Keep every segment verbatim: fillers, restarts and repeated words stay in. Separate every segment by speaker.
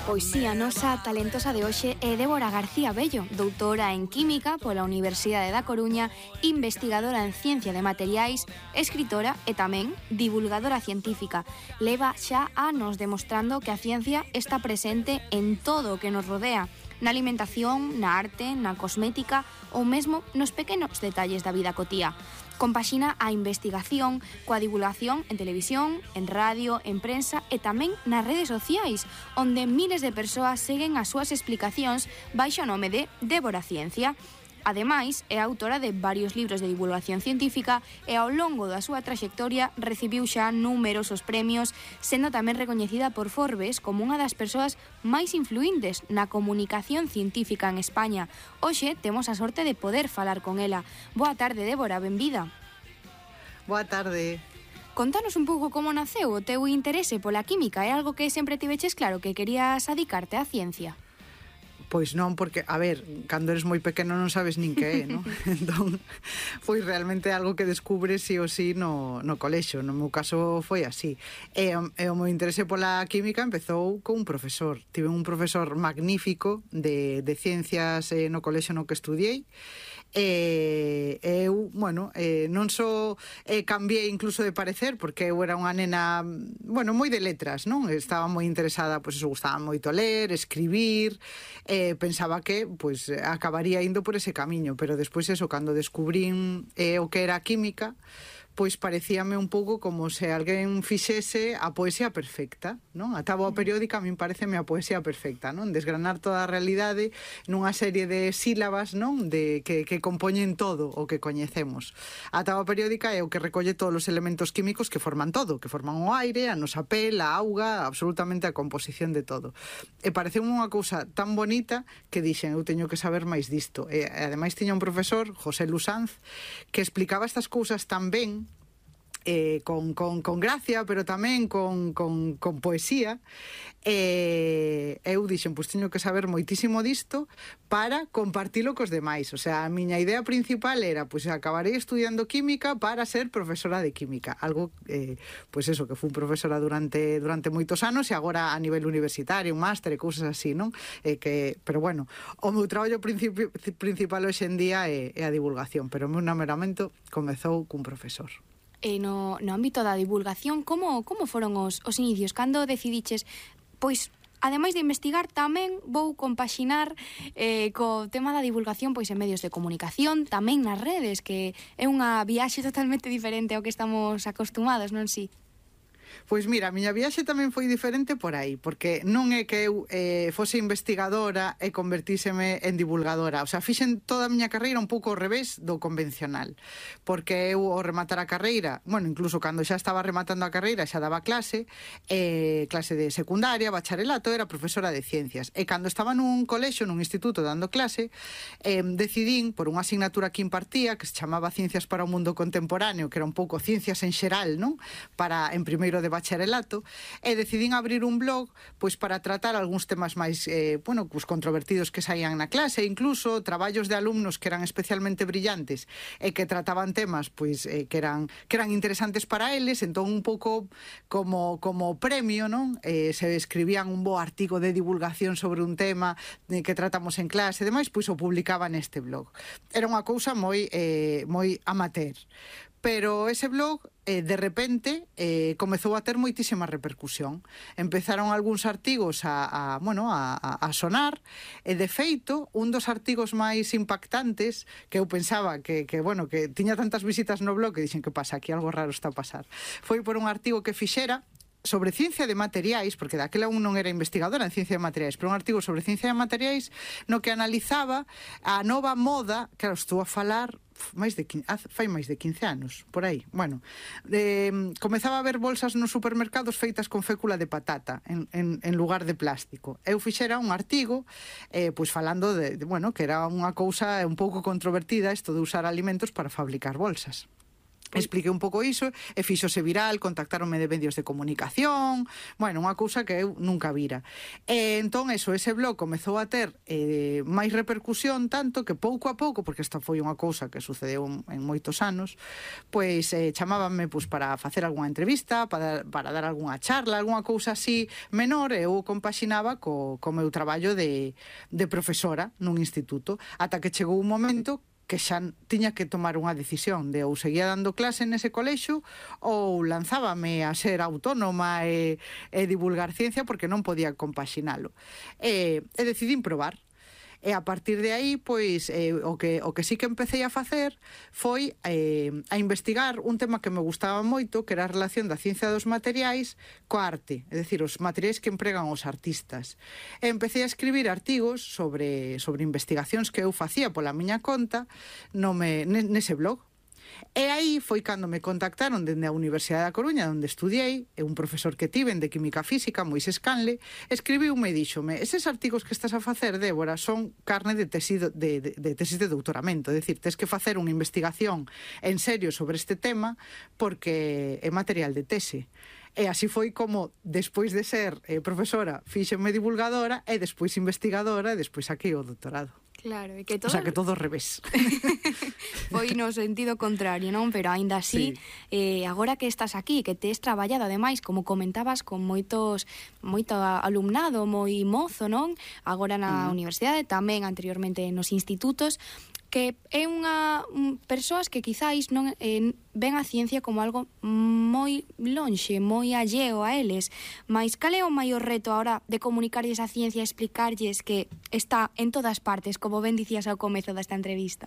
Speaker 1: Pois si, a nosa talentosa de hoxe é Débora García Bello, doutora en Química pola Universidade da Coruña, investigadora en Ciencia de Materiais, escritora e tamén divulgadora científica. Leva xa anos demostrando que a ciencia está presente en todo o que nos rodea, na alimentación, na arte, na cosmética ou mesmo nos pequenos detalles da vida cotía. Compaxina a investigación coa divulgación en televisión, en radio, en prensa e tamén nas redes sociais, onde miles de persoas seguen as súas explicacións baixo o nome de Débora Ciencia. Ademais, é autora de varios libros de divulgación científica e ao longo da súa traxectoria recibiu xa numerosos premios, sendo tamén recoñecida por Forbes como unha das persoas máis influíntes na comunicación científica en España. Hoxe temos a sorte de poder falar con ela. Boa tarde, Débora, benvida.
Speaker 2: Boa tarde.
Speaker 1: Contanos un pouco como naceu o teu interese pola química. É algo que sempre tiveches claro que querías adicarte á ciencia?
Speaker 2: Pois non, porque, a ver, cando eres moi pequeno non sabes nin que é, non? Entón, foi realmente algo que descubres sí ou sí no, no colexo. No meu caso foi así. E, e o meu interese pola química empezou con un profesor. Tive un profesor magnífico de, de ciencias eh, no colexo no que estudiei. E eu, bueno, eh, non só eh, cambiei incluso de parecer, porque eu era unha nena, bueno, moi de letras, non? Estaba moi interesada, pois eso, gustaba moito ler, escribir, eh, pensaba que, pois, acabaría indo por ese camiño, pero despois eso, cando descubrín eh, o que era a química, pois parecíame un pouco como se alguén fixese a poesía perfecta, non? A táboa periódica a min pareceme a poesía perfecta, non? Desgranar toda a realidade nunha serie de sílabas, non? De que, que compoñen todo o que coñecemos. A táboa periódica é o que recolle todos os elementos químicos que forman todo, que forman o aire, a nosa pel, a auga, absolutamente a composición de todo. E pareceu unha cousa tan bonita que dixen, eu teño que saber máis disto. E ademais tiña un profesor, José Lusanz, que explicaba estas cousas tan ben, Eh, con, con, con gracia, pero tamén con, con, con poesía, e eh, eu dixen, pois teño que saber moitísimo disto para compartilo cos demais. O sea, a miña idea principal era, pois acabarei estudiando química para ser profesora de química, algo, eh, pois eso, que fui profesora durante durante moitos anos e agora a nivel universitario, un máster e cousas así, non? Eh, que, pero bueno, o meu traballo principi, principal hoxe en día é, é a divulgación, pero o meu namoramento comezou cun profesor.
Speaker 1: E no, no ámbito da divulgación, como, como foron os, os inicios? Cando decidiches, pois, ademais de investigar, tamén vou compaxinar eh, co tema da divulgación pois en medios de comunicación, tamén nas redes, que é unha viaxe totalmente diferente ao que estamos acostumados, non si?
Speaker 2: Pois mira, a miña viaxe tamén foi diferente por aí, porque non é que eu eh, fose investigadora e convertíseme en divulgadora. O sea, fixen toda a miña carreira un pouco ao revés do convencional, porque eu ao rematar a carreira, bueno, incluso cando xa estaba rematando a carreira xa daba clase, eh, clase de secundaria, bacharelato, era profesora de ciencias. E cando estaba nun colexo, nun instituto dando clase, eh, decidín, por unha asignatura que impartía, que se chamaba Ciencias para o Mundo Contemporáneo, que era un pouco ciencias en xeral, non? Para, en primeiro de bacharelato, e decidín abrir un blog pois para tratar algúns temas máis eh, bueno, pues, controvertidos que saían na clase, incluso traballos de alumnos que eran especialmente brillantes e que trataban temas pois eh, que eran que eran interesantes para eles. Entón un pouco como como premio, non? Eh, se escribían un bo artigo de divulgación sobre un tema eh, que tratamos en clase e demais, pois o publicaban neste blog. Era unha cousa moi eh, moi amateur. Pero ese blog, eh, de repente, eh, comezou a ter moitísima repercusión. Empezaron algúns artigos a, a, bueno, a, a sonar, e de feito, un dos artigos máis impactantes, que eu pensaba que, que, bueno, que tiña tantas visitas no blog, que dixen que pasa, aquí algo raro está a pasar. Foi por un artigo que fixera sobre ciencia de materiais, porque daquela un non era investigadora en ciencia de materiais, pero un artigo sobre ciencia de materiais no que analizaba a nova moda, claro, estou a falar máis de quince, fai máis de quince anos, por aí. Bueno, eh, comezaba a haber bolsas nos supermercados feitas con fécula de patata en, en, en lugar de plástico. Eu fixera un artigo eh, pois falando de, de, bueno, que era unha cousa un pouco controvertida isto de usar alimentos para fabricar bolsas. expliquei un pouco iso e fíxose viral, contactaronme de medios de comunicación, bueno, unha cousa que eu nunca vira. E entón, eso, ese blog comezou a ter eh, máis repercusión, tanto que pouco a pouco, porque esta foi unha cousa que sucedeu en moitos anos, pois eh, chamábanme pois, para facer algunha entrevista, para, para dar algunha charla, algunha cousa así menor, e eu compaxinaba co, co meu traballo de, de profesora nun instituto, ata que chegou un momento que xa tiña que tomar unha decisión de ou seguía dando clase nese colexo ou lanzábame a ser autónoma e, e divulgar ciencia porque non podía compaxinalo. E, e decidín probar. E a partir de aí, pois, eh, o, que, o que sí que empecé a facer foi eh, a investigar un tema que me gustaba moito, que era a relación da ciencia dos materiais coa arte, é dicir, os materiais que empregan os artistas. E empecé a escribir artigos sobre, sobre investigacións que eu facía pola miña conta no me, nese blog. E aí foi cando me contactaron dende a Universidade da Coruña, onde estudiei, e un profesor que tiven de Química Física, Moisés Canle, escribiume e díxome: eses artigos que estás a facer, Débora, son carne de tesis de, de, de, tesis de doutoramento, é dicir, tes que facer unha investigación en serio sobre este tema porque é material de tese. E así foi como, despois de ser eh, profesora, fíxenme divulgadora, e despois investigadora, e despois aquí o doutorado.
Speaker 1: Claro, e que todo...
Speaker 2: O sea, que todo ao revés.
Speaker 1: Foi no sentido contrario, non? Pero aínda así, sí. eh, agora que estás aquí, que tes traballado, ademais, como comentabas, con moitos moito alumnado, moi mozo, non? Agora na uh-huh. universidade, tamén anteriormente nos institutos, que é unha um, persoas que quizáis non eh, ven a ciencia como algo moi lonxe, moi alleo a eles, mas cal é o maior reto ahora de comunicarlles a ciencia e explicarlles que está en todas partes, como ben dicías ao comezo desta entrevista?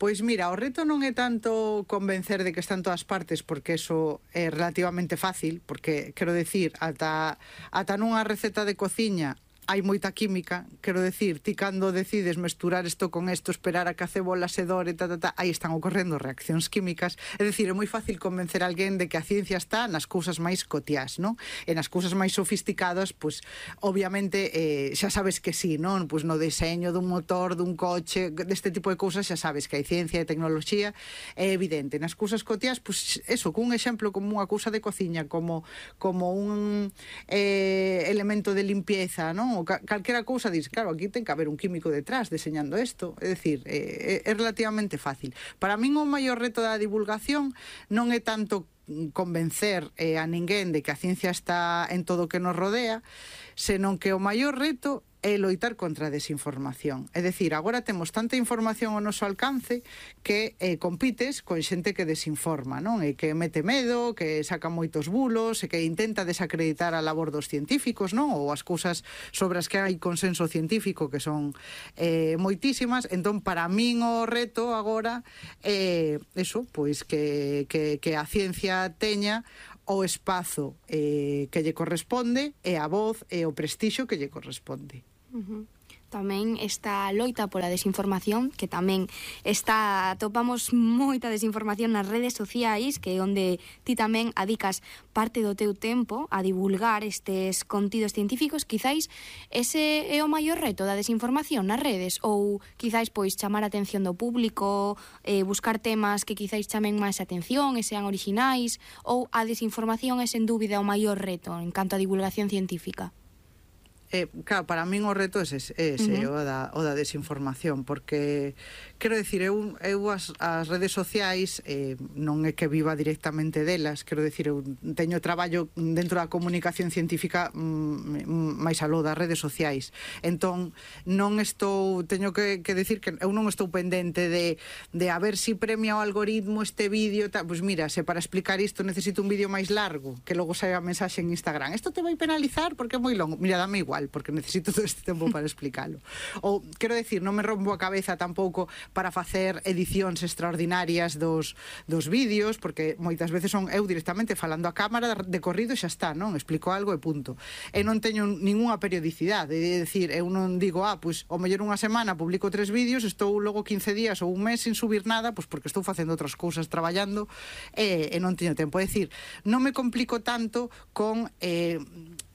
Speaker 2: Pois mira, o reto non é tanto convencer de que está en todas partes, porque eso é relativamente fácil, porque, quero decir, ata, ata nunha receta de cociña hai moita química, quero decir, ti cando decides mesturar isto con isto, esperar a que a cebola se dore, ta, ta, ta, aí están ocorrendo reaccións químicas, é dicir, é moi fácil convencer a alguén de que a ciencia está nas cousas máis cotiás, non? E nas cousas máis sofisticadas, pois, obviamente, eh, xa sabes que sí, non? Pois no deseño dun motor, dun coche, deste tipo de cousas, xa sabes que hai ciencia e tecnoloxía, é evidente. Nas cousas cotiás, pois, eso, cun exemplo como unha cousa de cociña, como, como un eh, elemento de limpieza, non? O calquera cousa dis, claro, aquí ten que haber un químico detrás deseñando isto, é dicir, é, é relativamente fácil. Para min o maior reto da divulgación non é tanto convencer eh, a ninguén de que a ciencia está en todo o que nos rodea, senón que o maior reto é loitar contra a desinformación. É dicir, agora temos tanta información ao noso alcance que eh, compites con xente que desinforma, non? E que mete medo, que saca moitos bulos, e que intenta desacreditar a labor dos científicos, non? Ou as cousas sobre as que hai consenso científico, que son eh, moitísimas. Entón, para min o reto agora é eh, eso, pois que, que, que a ciencia teña o espazo eh, que lle corresponde e a voz e o prestixio que lle corresponde.
Speaker 1: Uh-huh. Tamén esta loita pola desinformación, que tamén está, topamos moita desinformación nas redes sociais, que é onde ti tamén adicas parte do teu tempo a divulgar estes contidos científicos. Quizáis ese é o maior reto da desinformación nas redes, ou quizáis pois chamar a atención do público, eh, buscar temas que quizáis chamen máis atención e sean orixinais, ou a desinformación é sen dúbida o maior reto en canto a divulgación científica?
Speaker 2: Eh, claro, para min o reto é ese, ese uh-huh. o, da, o da desinformación, porque, quero dicir, eu, eu as, as redes sociais eh, non é que viva directamente delas, quero dicir, eu teño traballo dentro da comunicación científica mm, máis aló das redes sociais, entón non estou, teño que, que decir que eu non estou pendente de, de a ver si premia o algoritmo este vídeo, pois pues mira, se para explicar isto necesito un vídeo máis largo, que logo saia a mensaxe en Instagram, isto te vai penalizar porque é moi longo, mira, dame igual, porque necesito todo este tempo para explicarlo. Ou, quero decir, non me rompo a cabeza tampouco para facer edicións extraordinarias dos, dos vídeos, porque moitas veces son eu directamente falando a cámara de corrido e xa está, non? Explico algo e punto. E non teño ningunha periodicidade, é dicir, eu non digo, ah, pois, o mellor unha semana publico tres vídeos, estou logo quince días ou un mes sin subir nada, pois porque estou facendo outras cousas, traballando, e, e non teño tempo. É dicir, non me complico tanto con... Eh,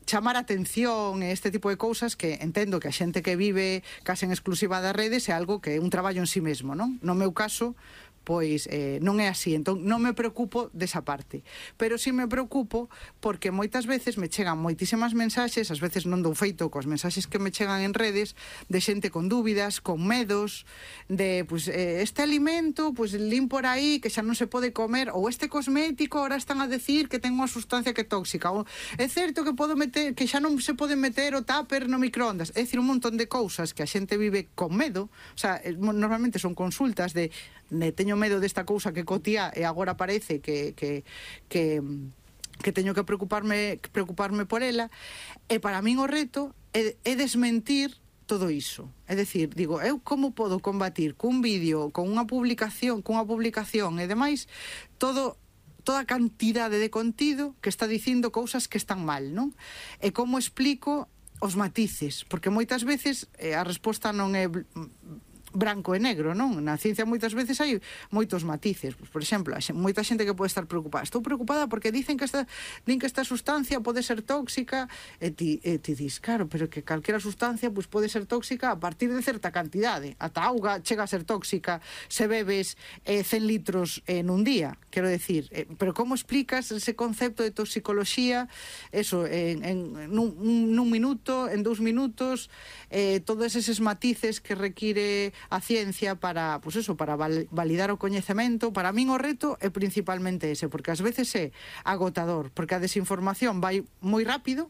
Speaker 2: chamar a atención e este tipo de cousas que entendo que a xente que vive case en exclusiva das redes é algo que é un traballo en sí mesmo, non? No meu caso, pois eh, non é así, entón non me preocupo desa parte, pero sí me preocupo porque moitas veces me chegan moitísimas mensaxes, ás veces non dou feito coas mensaxes que me chegan en redes, de xente con dúbidas, con medos, de, pois, eh, este alimento, pois, lin por aí, que xa non se pode comer, ou este cosmético, ahora están a decir que ten unha sustancia que é tóxica, ou é certo que podo meter, que xa non se pode meter o tupper no microondas, é dicir, un montón de cousas que a xente vive con medo, o sea, normalmente son consultas de, de teño medo desta cousa que cotía e agora parece que, que, que, que teño que preocuparme, preocuparme por ela, e para min o reto é, é desmentir todo iso. É dicir, digo, eu como podo combatir cun vídeo, con unha publicación, cunha publicación e demais, todo toda a cantidade de contido que está dicindo cousas que están mal, non? E como explico os matices, porque moitas veces eh, a resposta non é branco e negro, non? Na ciencia moitas veces hai moitos matices. Pues, por exemplo, a xe, moita xente que pode estar preocupada. Estou preocupada porque dicen que esta, din que esta sustancia pode ser tóxica, e ti, e ti dis, claro, pero que calquera sustancia pues, pode ser tóxica a partir de certa cantidade. Ata a auga chega a ser tóxica se bebes eh, cen litros en un día, quero decir. Eh, pero como explicas ese concepto de toxicoloxía, eso, en, en nun, nun minuto, en dous minutos, eh, todos eses matices que require a ciencia para, pues eso, para val, validar o coñecemento. Para min o reto é principalmente ese, porque ás veces é agotador, porque a desinformación vai moi rápido,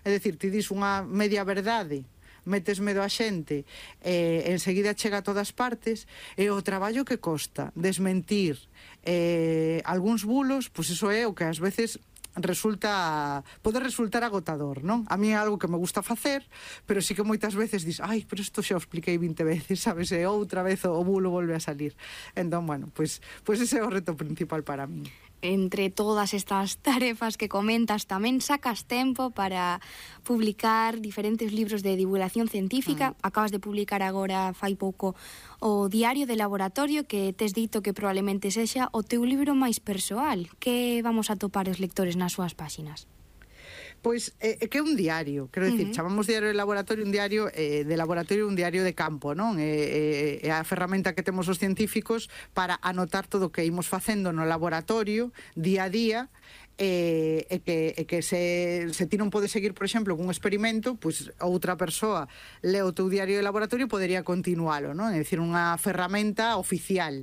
Speaker 2: é dicir, ti dis unha media verdade, metes medo a xente, eh, enseguida chega a todas partes, e o traballo que costa desmentir eh, algúns bulos, pois pues iso é o que ás veces resulta, pode resultar agotador, non? A mí é algo que me gusta facer, pero sí que moitas veces dis, ai, pero isto xa o expliquei vinte veces, sabes, e outra vez o bulo volve a salir. Entón, bueno, pois, pois ese é o reto principal para mí.
Speaker 1: Entre todas estas tarefas que comentas, tamén sacas tempo para publicar diferentes libros de divulgación científica. Mm. Acabas de publicar agora, fai pouco, o Diario de Laboratorio, que tes dito que probablemente sexa o teu libro máis persoal. Que vamos a topar os lectores nas súas páxinas?
Speaker 2: Pois é, é que é un diario, quero dicir, uh -huh. chamamos diario de laboratorio, un diario eh, de laboratorio, un diario de campo, non? É, é, é a ferramenta que temos os científicos para anotar todo o que imos facendo no laboratorio, día a día, e, e que, e que se, se ti non podes seguir, por exemplo, cun experimento, pois outra persoa le o teu diario de laboratorio e podería continualo, non? É dicir, unha ferramenta oficial.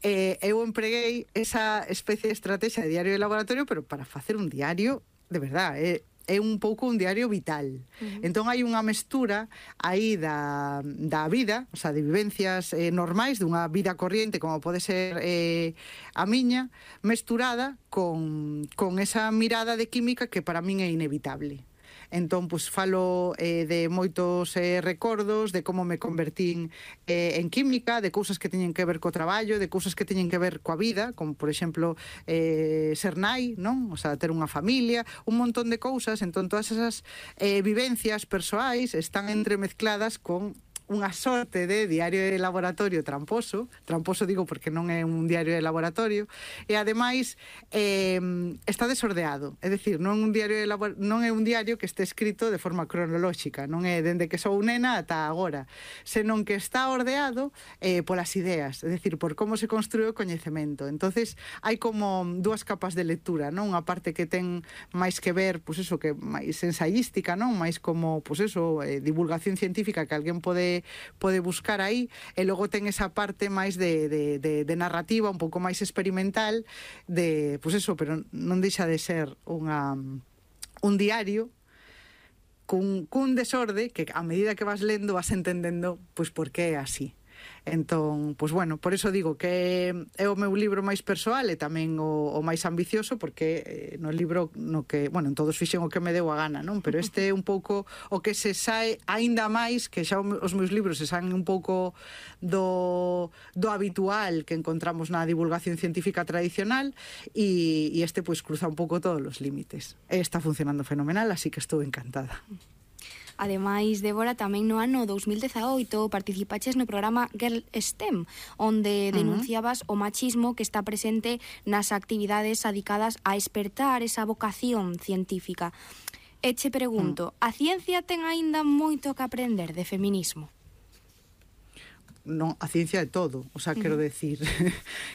Speaker 2: Eh, eu empreguei esa especie de estrategia de diario de laboratorio, pero para facer un diario de verdad, é, é un pouco un diario vital. Uh-huh. Entón hai unha mestura aí da, da vida, o sea, de vivencias eh, normais, dunha vida corriente como pode ser eh, a miña, mesturada con, con esa mirada de química que para min é inevitable. Entón, pues, falo eh, de moitos eh, recordos, de como me convertín eh, en química, de cousas que teñen que ver co traballo, de cousas que teñen que ver coa vida, como, por exemplo, eh, ser nai, non? O sea, ter unha familia, un montón de cousas. Entón, todas esas eh, vivencias persoais están entremezcladas con unha sorte de diario de laboratorio tramposo, tramposo digo porque non é un diario de laboratorio, e ademais eh, está desordeado, é dicir, non, un diario de labor... non é un diario que este escrito de forma cronolóxica, non é dende que sou nena ata agora, senón que está ordeado eh, polas ideas, é dicir, por como se construe o coñecemento. Entonces hai como dúas capas de lectura, non? Unha parte que ten máis que ver, pois eso, que máis ensayística, non? Máis como, pois eso, eh, divulgación científica que alguén pode pode buscar aí, e logo ten esa parte máis de, de, de, de narrativa, un pouco máis experimental, de, pois eso, pero non deixa de ser unha, un diario cun, cun desorde que a medida que vas lendo vas entendendo pois por que é así. Entón, pois bueno, por eso digo que é o meu libro máis persoal e tamén o, o máis ambicioso, porque eh, no libro no que, bueno, en todos fixen o que me deu a gana, non? Pero este é un pouco o que se sae aínda máis, que xa os meus libros se saen un pouco do, do habitual que encontramos na divulgación científica tradicional, e, e este pois cruza un pouco todos os límites. E está funcionando fenomenal, así que estou encantada.
Speaker 1: Ademais, Débora, tamén no ano dous mil dezaoito participaches no programa Girl STEM, onde denunciabas uh-huh. o machismo que está presente nas actividades adicadas a espertar esa vocación científica. E che pregunto, uh-huh. a ciencia ten aínda moito que aprender de feminismo?
Speaker 2: non, a ciencia é todo, o sea, quero decir,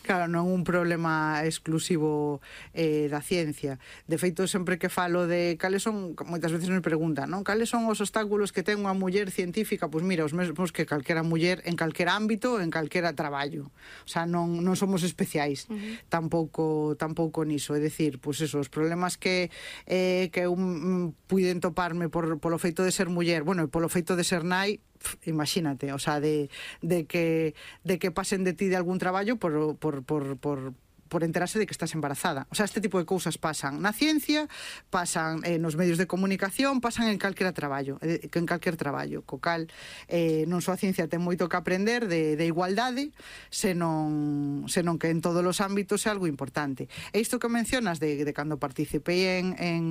Speaker 2: claro, non é un problema exclusivo eh, da ciencia. De feito, sempre que falo de cales son, moitas veces me preguntan, non? Cales son os obstáculos que ten unha muller científica? Pois mira, os mesmos que calquera muller en calquera ámbito, en calquera traballo. O sea, non, non somos especiais uh -huh. tampouco tampouco niso, é dicir, pois eso, os problemas que eh, que un, puiden toparme por, polo feito de ser muller, bueno, e polo feito de ser nai, imagínate, o sea, de, de que de que pasen de ti de algún traballo por, por, por, por por enterarse de que estás embarazada. O sea, este tipo de cousas pasan na ciencia, pasan eh, nos medios de comunicación, pasan en calquera traballo, eh, en calquer traballo, co cal eh, non só a ciencia ten moito que aprender de, de igualdade, senón, senón que en todos os ámbitos é algo importante. E isto que mencionas de, de cando participei en, en,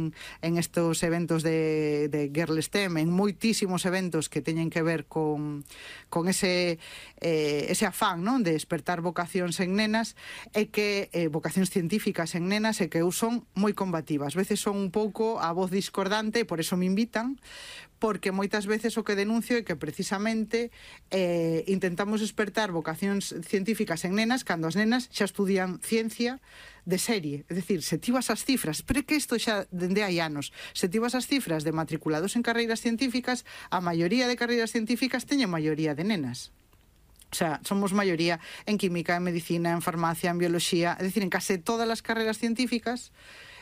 Speaker 2: en estos eventos de, de Girl STEM, en moitísimos eventos que teñen que ver con, con ese, eh, ese afán, non, de despertar vocacións en nenas, e que eh, vocacións científicas en nenas e que eu son moi combativa. Ás veces son un pouco a voz discordante e por eso me invitan, porque moitas veces o que denuncio é que precisamente eh, intentamos despertar vocacións científicas en nenas cando as nenas xa estudian ciencia de serie. É dicir, se ti vas as cifras, pero é que isto xa dende hai anos, se ti vas as cifras de matriculados en carreiras científicas, a maioría de carreiras científicas teñen maioría de nenas. O sea, somos maioría en química, en medicina, en farmacia, en biología, é dicir, en case todas as carreiras científicas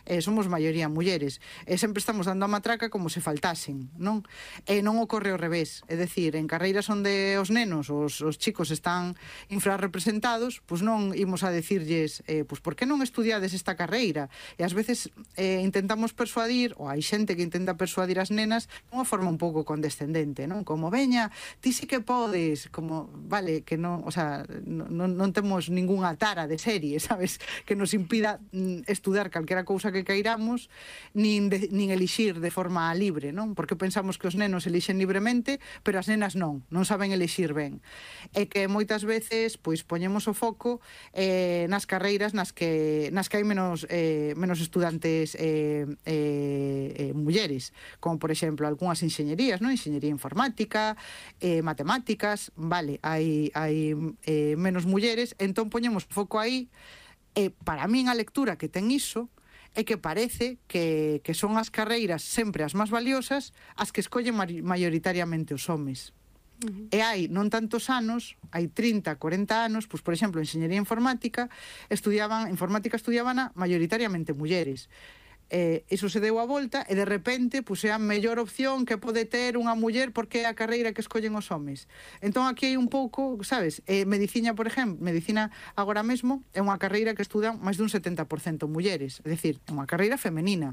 Speaker 2: eh, somos maioría mulleres. E sempre estamos dando a matraca como se faltasen, non? E non ocorre ao revés. É dicir, en carreiras onde os nenos, os, os chicos están infrarrepresentados, pois non imos a decirlles, eh, pois por que non estudiades esta carreira? E ás veces eh, intentamos persuadir, ou hai xente que intenta persuadir as nenas de unha forma un pouco condescendente, non? Como, veña, ti sí que podes, como, vale, que non, o sea, non, non temos ningunha tara de serie, sabes? Que nos impida mm, estudar calquera cousa que cairamos, nin, de, nin elixir de forma libre, non? Porque pensamos que os nenos elixen libremente, pero as nenas non, non saben elixir ben. E que moitas veces, pois, poñemos o foco eh, nas carreiras nas que, nas que hai menos, eh, menos estudantes eh, eh, eh, mulleres, como, por exemplo, algunhas enxeñerías, non? Enxeñería informática, eh, matemáticas, vale, hai, hai eh, menos mulleres, entón poñemos o foco aí, e para min a lectura que ten iso é que parece que, que son as carreiras sempre as máis valiosas as que escollen maioritariamente os homes. Uh-huh. E hai non tantos anos, hai trinta, corenta anos, pois, por exemplo, en enxeñería informática, estudiaban, informática estudiaban maioritariamente mulleres. Eh, iso se deu a volta e de repente pois, é a mellor opción que pode ter unha muller porque é a carreira que escollen os homes. Entón aquí hai un pouco, sabes, eh, medicina, por exemplo, medicina agora mesmo é unha carreira que estudan máis dun setenta por cento mulleres, é dicir, é unha carreira femenina.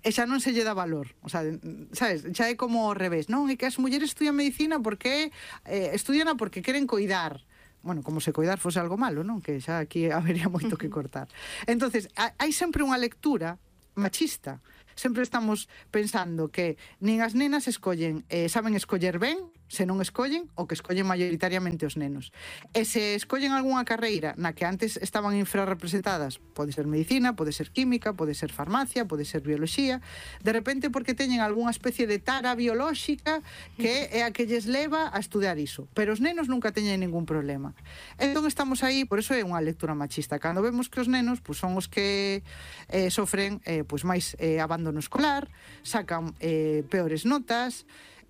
Speaker 2: E xa non se lle dá valor, o sea, sabes, xa é como ao revés, non? É que as mulleres estudian medicina porque eh, estudiana porque queren coidar. Bueno, como se coidar fose algo malo, non? Que xa aquí habería moito que cortar. Entonces, hai sempre unha lectura machista. Sempre estamos pensando que nin as nenas escollen, eh, saben escoller ben, se non escollen, o que escollen maioritariamente os nenos. E se escollen algunha carreira na que antes estaban infrarrepresentadas, pode ser medicina, pode ser química, pode ser farmacia, pode ser biología, de repente porque teñen algunha especie de tara biolóxica que é a que lles leva a estudar iso. Pero os nenos nunca teñen ningún problema. Entón estamos aí, por eso é unha lectura machista. Cando vemos que os nenos pues, son os que eh, sofren eh, pues, máis eh, abandono escolar, sacan eh, peores notas,